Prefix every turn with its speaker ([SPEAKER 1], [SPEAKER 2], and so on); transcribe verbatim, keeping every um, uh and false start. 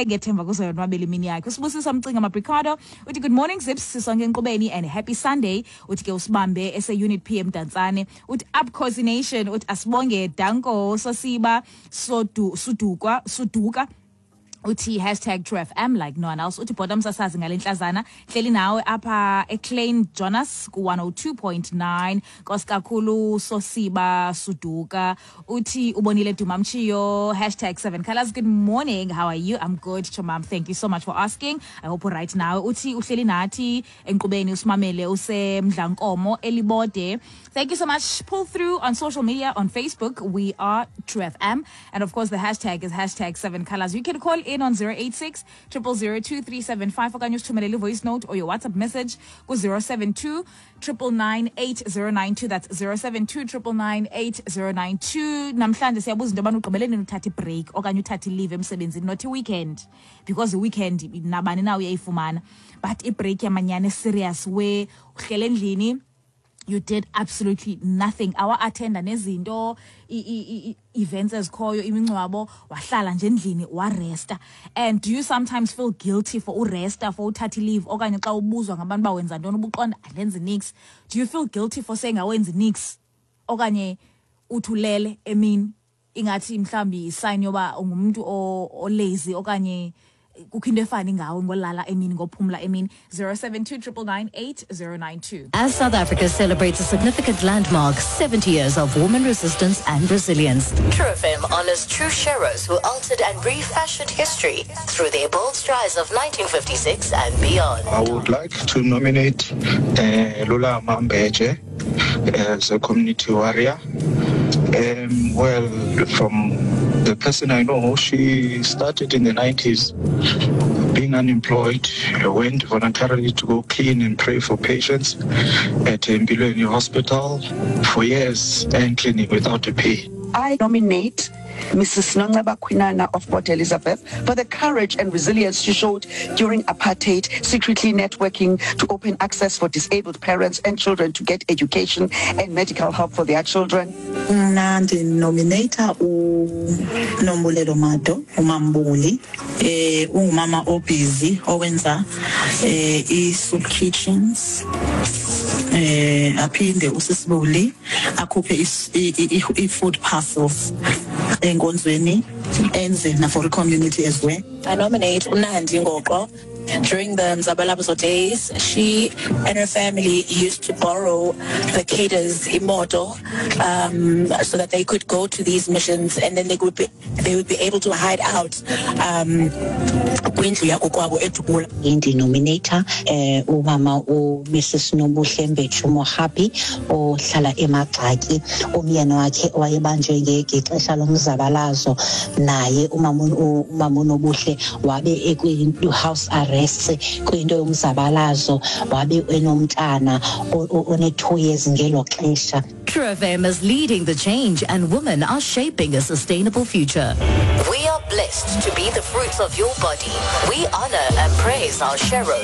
[SPEAKER 1] Ngethemba kuzayonwabela imini yakhe. Usibusiso Mcinga Mabricado uthi, "Good morning, Zips, sisonke enkqubeni and happy Sunday." Uthi ke usibambe ese-Unit P eMdantsane. Uthi, "Up Khosi Nation." Uthi asibonge, danko Sosiba Sodu Sudukwa Suduka. Uthi hashtag True F M like no one else. Uthi, "Bhota msasazi, ngale ntlazana hleli nawe apha eClean Jonas ku one oh two point nine. Nkosi kakhulu, Sosiba Suduka." Uthi ubonile Duma Mchiyo, hashtag seven colors. "Good morning, how are you?" I'm good, chomam, thank you so much for asking. I hope right now. Uthi uhleli nathi enkqubeni, usimamele usemdlankomo eLibode. Thank you so much. Pull through on social media. On Facebook we are True F M, and of course the hashtag is hashtag seven colors. You can call in on zero eight six zero zero zero two three seven five okanye usithumelele voice note or your WhatsApp message ku zero seven two nine nine nine eight zero nine two. That's zero seven two nine nine nine eight zero nine two. Namhlanje siyabuza into yobana ugqibele nini uthatha ibreak okanye uthatha ileave emsebenzini, not i-weekend, because i-weekend nabani na uyayifumana, but ibreak yamanyani serious where uhlele endlini, you did absolutely nothing, awa-attenda nezinto, i- i- i- events ezikhoyo, imingcwabo, wahlala nje endlini waresta. And do you sometimes feel guilty for uresta, for uthatha leave, okanye xa ubuzwa ngabantu uba wenza ntoni ubuqonda andenzi nix? Do you feel guilty for saying awenzi nix, okanye uthi ulele emini ingathi mhlawumbi isign yoba ungumntu o- olazy, okanye kukho into efani ngawe ngolala emini, ngophumla emini? zero seven two nine nine nine eight zero nine two.
[SPEAKER 2] As South Africa celebrates a significant landmark, seventy years of woman resistance and resilience,
[SPEAKER 3] True F M honors true sheroes who altered and refashioned history through their bold strides of nineteen fifty-six and beyond.
[SPEAKER 4] I would like to nominate uh, Lula Mambeje as a community warrior. Um, well, from the person I know, she started in the nineties being unemployed, went voluntarily to go clean and pray for patients at Mbilweni Hospital for years and cleaning without a pay.
[SPEAKER 5] I nominate Missus Nonceba Kwinana of Port Elizabeth for the courage and resilience she showed during apartheid, secretly networking to open access for disabled parents and children to get education and medical help for their children.
[SPEAKER 6] Mna ndinomineyitha uNombulelo Mado, uMambuli. eh ungumama obusy owenza eh i-soup kitchens, eh aphinde usisibuli akhuphe is- i- i- i-food parcels enkonzweni, enze na for community as well.
[SPEAKER 7] I nominate uNandi Ngoqo. During the Mzabalazo days, she and her family used to borrow the cadres imoto um, so that they could go to these missions, and then they would be they would be able to hide out um, kwindlu yakokwabo eDubula.
[SPEAKER 8] Ndinomineyitha eh umama uMrs Nobuhle Mbetshu Mohapi ohlala eMagxaki. Umyeni wakhe wayebanjwe ngexesha lomzabalazo, naye umama umama uNobuhle wabe ekwi-house arrest kwinto yomzabalazo, wabe enomntana one-two years ngelo xesha.
[SPEAKER 2] True F M is leading the change and women are shaping a sustainable future.
[SPEAKER 3] We are blessed to be the fruits of your body. We honor and praise our sheroes.